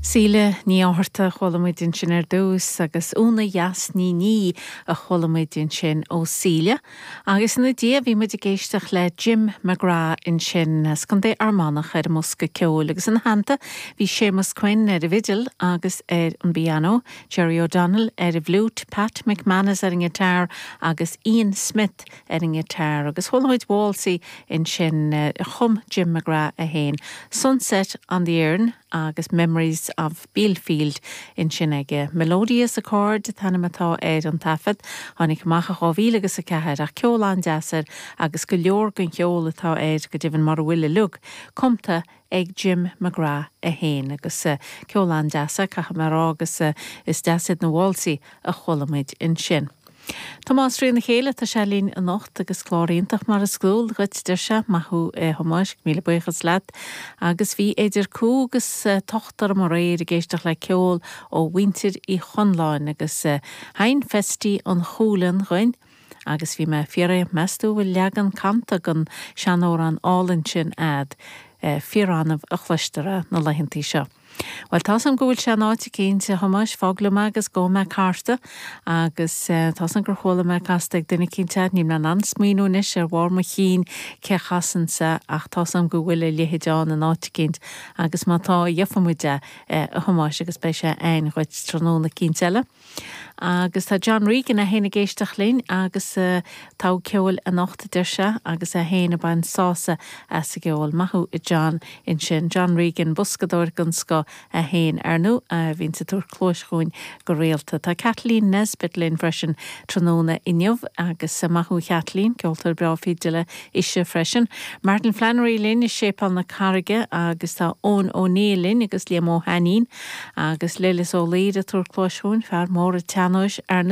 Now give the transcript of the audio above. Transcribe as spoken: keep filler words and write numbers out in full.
Síle Ní Fhátharta a chuala muid ansin ar dtús agus Úna Dheas Ní Ní a chuala muid ansin ó Síle. Agus ina diaidh bhí muid ag éisteacht le Jim McGrath ansin as Contae Fhear Manach ar an mbosca ceoil agus ina theannta bhí Séamus Quinn ar an bhfidil agus ar an bpianó, Jerry O'Donnell ar an bhfliúit, Pat McManus ar an ngiotár agus Ian Smith ar an ngiotár agus chuala muid válsaí ansin chum Jim McGrath é féin. Sunset on the Erne agus Memories of Bielfield ansin aige. Melodious Accord an t-ainm atá ar an taifead, tháinig amach dhá mhíle agus a ceathair ach ceol an-deas air agus go leor den cheol atá air go deimhin mar a bhfuil uilig, cumtha ag Jim McGrath é féin agus uh, ceol an-deas caithfidh mé rá agus uh, is deas iad na válsaí a chuala muid ansin. Tomás Rí na chéile tá sé linn anocht agus clár iontach mar is dual duit deir sé maith thú a Thomáis míle buíochas leat agus bhí idir cúig agus tochtar mar réir ag éisteacht le ceol ó mhuintir Uí Chonláin agus sheinn Festy an Chúlann dúinn. agus bhí mé ag fiafraí meas tú bhfuil leagan canta den seanamhrán álainn sin a'd fíor-annamh a chloistear na laethantaí seo. Well tá an go bhfuil sé áit cinnte Thomáis fág liom agus gheobhaidh mé cárta agus tá an gur chuala mé casta ag duine cinnte ní an an-smaoineamh anois ar bharr mo chinn cé chasann sé ach tá an go bhfuil a leithéid ann in áit eicínt agus má tá gheobhaimid é a Thomáis agus beidh sé againn dhuit tráthnóna eicínt eile. Agus tá John Regan é féin ag éisteacht linn agus uh, tá ceol anocht deir sé agus é féin ag baint sásamh as an gceol maith thú John ansin John Regan boscadóir den scoth é féin ar ndóigh a bhíonn ag tabhairt cluas dúinn go rialta. Tá Kathleen Nesbitt linn freisin tráthnóna inniu agus maith thú Kathleen ceoltóir breá fidile ise freisin. Martin Flannery linn i Séipéal na Carraige agus tá Eoin O'Neill linn agus Liam Ó hAinnín agus Lilis Ó Laoire ag tabhairt cluas dúinn fear mór an tsean-nóis ar